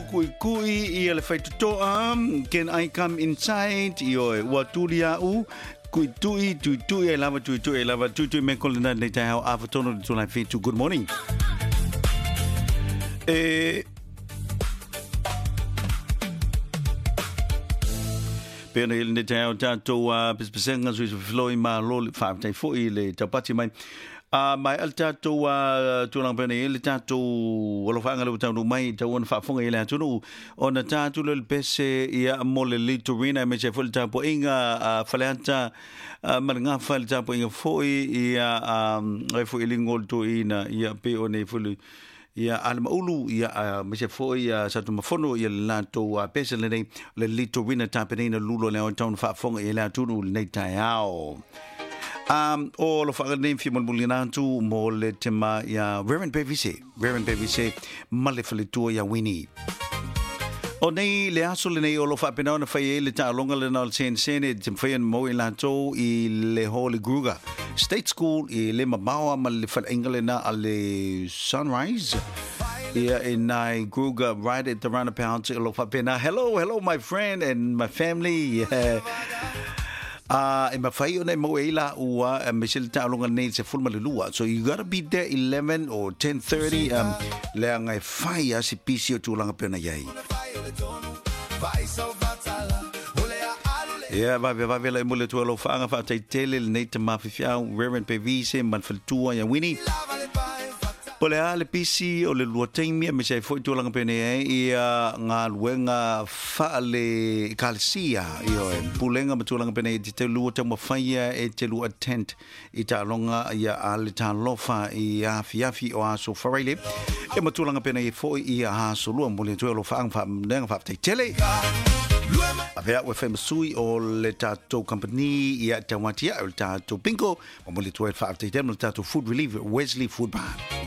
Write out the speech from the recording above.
Kuʻikuʻi ia le faitotoa, Can I Come Inside, ioe, ua tuli a'u, Kuʻituʻi, tuitui ai lava, tuitui ai lava, tuitui me ko lena nei taeao afa tonu le tūlai whitu. Good morning. E, Pena i lenei taeao tatou a pesepesega sui sui ma lo le whaatai foi i le taupati mai. A mai al tatou a tulaga pena i le tatou alofaga le taunu mai tau ona faafofoga i le atunuu ona tatou le pese ia mo le litorina me se foi le tapuaiga a Faleata ma le Gafa le tapuaiga foi ia ai foi i le toeaina ia pe o nei foi ia a le Maulu ia ma se foi ia Satunumafono ia le latou pese lenei le litorina tapenaina lulo le tau faafofoga i le atunuu lenei taeao. O lo whaanga nei whia mulimuli atu mo le tema ia Reverend Pevise, Reverend Pevise ma le faletua ia Winnie. O nei le aso lenei o lo whaapena ona whai e le taaloga lena o le senesene te mwhai ana mau i latou i le Holy Kruger State School i le mamaoa ma le whalainga lena a le Sunrise. Ia e nai Kruger right at the roundabout o lo whaapena. Hello, hello my friend and my family. Yeah. A e mafai ona e maua ai la ua e me se le taaloga nei se full ma le lua. So you gotta be there 11 or 10:30 leaga e fai a se pisi o tulaga pe ona iai. Ia, vave vave la e mole tua lau whaanga whaatai tele le nei te mawhiwhiau, Reverend Pevise, ma le faletua ia Winnie. Po le a le pisi o le lua taimi me se foi tulaga pene ai ia ngā luenga whaale kalesia io e pulenga ma tulaga pene i te lua tau mawhaia e te lua tent i taaloga ia a le talofa i afi afi o aso wharaile e ma tulaga pene i foi i aso lua mo le tua lo whaanga wha wha tele. A pea ua whai masui o le tātou company ia te watia o le tātou bingo ma mo le tua wha tele mo le tātou food relief Wesley Food Bar.